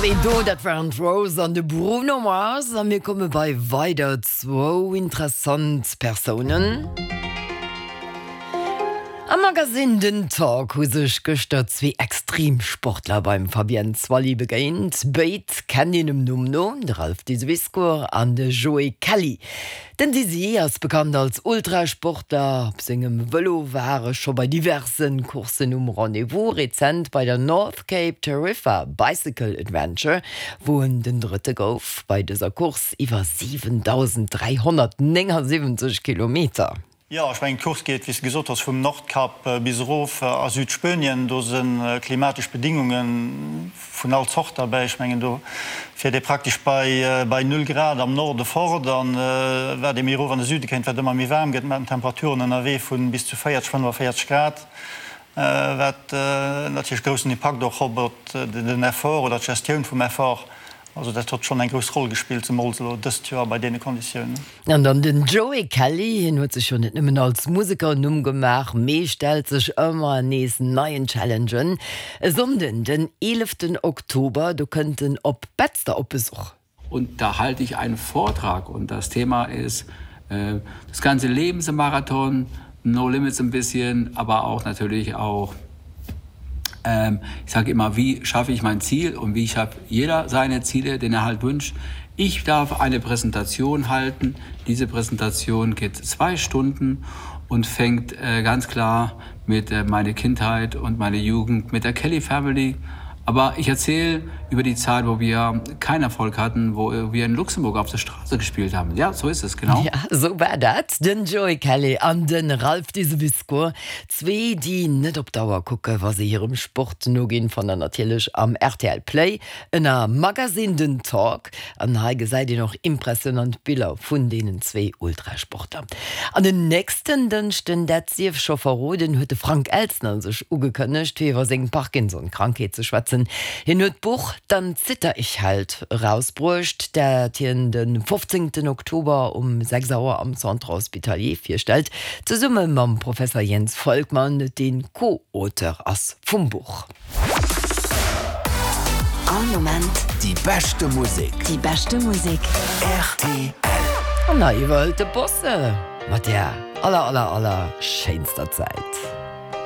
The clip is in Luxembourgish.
Déi do, dat waren d'Rose an de Bruno Mars. A mir komme bei weider zwou interessant Persounen. Am Magasinn Den Talk hu sech gëschter zwee Extremsportler beim Fabienne Zwally begéint. Béid kennt een dem Numm no, de Ralph Diseviscourt an de Joé Kelly. Den Dizzy ass bekannt als Ultrasportler. Op sengem Vëlo war e scho bei diverse Courssen um Rendez-vous, rezent bei der North Cape Tarifa Bicycle Adventure, wou en den Drëtte gouf bei dëser Course iwwer 7.379 Kilometer. Jo, ech mengen d'Course geet, wéi s de gesot hues, vum Nordkap bis erof a Südspuenien. Do si klimatesch Bedingunge vun all Zort derbäi. Ech mengen do fiert ee praktesch bei bei null Grad am Norde fort an wat ee méi erof an de Süde kéint, wat ëmmer méi waarm gëtt, mat Temperaturen ënnerwee vu bis zu 40, 45 Grad, wat natierlech groussen Impakt och op op den Effort oder d'Gestioun vum Effort. Also dat hott schonn eng grouss Roll gespillt, zemools elo dëst Joer bei deene Konditiounen. An dann den Joey Kelly, hien huet sech jo net nëmmen als Museker en Numm gemaach, mee stellt sech ëmmer nees neien Challengen. E Sonnden, den 11 Oktober, do kënnt en op Betzder op Besuch. Und da halte ich einen Vortrag und das Thema ist äh, das ganze Leben ist ein Marathon, no limits ein bisschen, aber auch natürlich auch ähm, ich sage immer, wie schaffe ich mein Ziel und wie schafft jeder seine Ziele, den er halt wünscht. Ich darf eine Präsentation halten. Diese Präsentation geht zwei Stunden und fängt äh, ganz klar mit äh, meine Kindheit und meine Jugend mit der Kelly Family. Aber ich erzähle über die Zeit, wo wir keinen Erfolg hatten, wo wir in Luxemburg auf der Straße gespielt haben. Ja, so ist es genau. Ja, sou war dat. Den Joey Kelly an de Ralph Diseviscourt, zwee, déi net op d'Auer kucke wa se hirem Sport noginn, fannt der natierlech am rtl Play ënner Magazine den Talk. An hei gesäit een och impressionant Biller vun deenen zwee Ultrasportler. An den nächsten Dënschden, dat sief scho verroden, huet de Frank Elstner sech ugekënnegt, fir iwwer seng Parkinson-Krankheet ze schwätzen. Hien huet d'Buch Dann zitter ich halt erausbruecht, dat hien de 15 Oktober um 6 Auer am Centre Hospitalier virstellt, zesumme mam Professer Jens Volkmann, dee Co-Auteur ass vum Buch. All Moment. Déi beschte Musek. Déi beschte Musek. Rtl. An hei iwwerhëlt de Bosse mat der aller aller aller schéinster Zäit.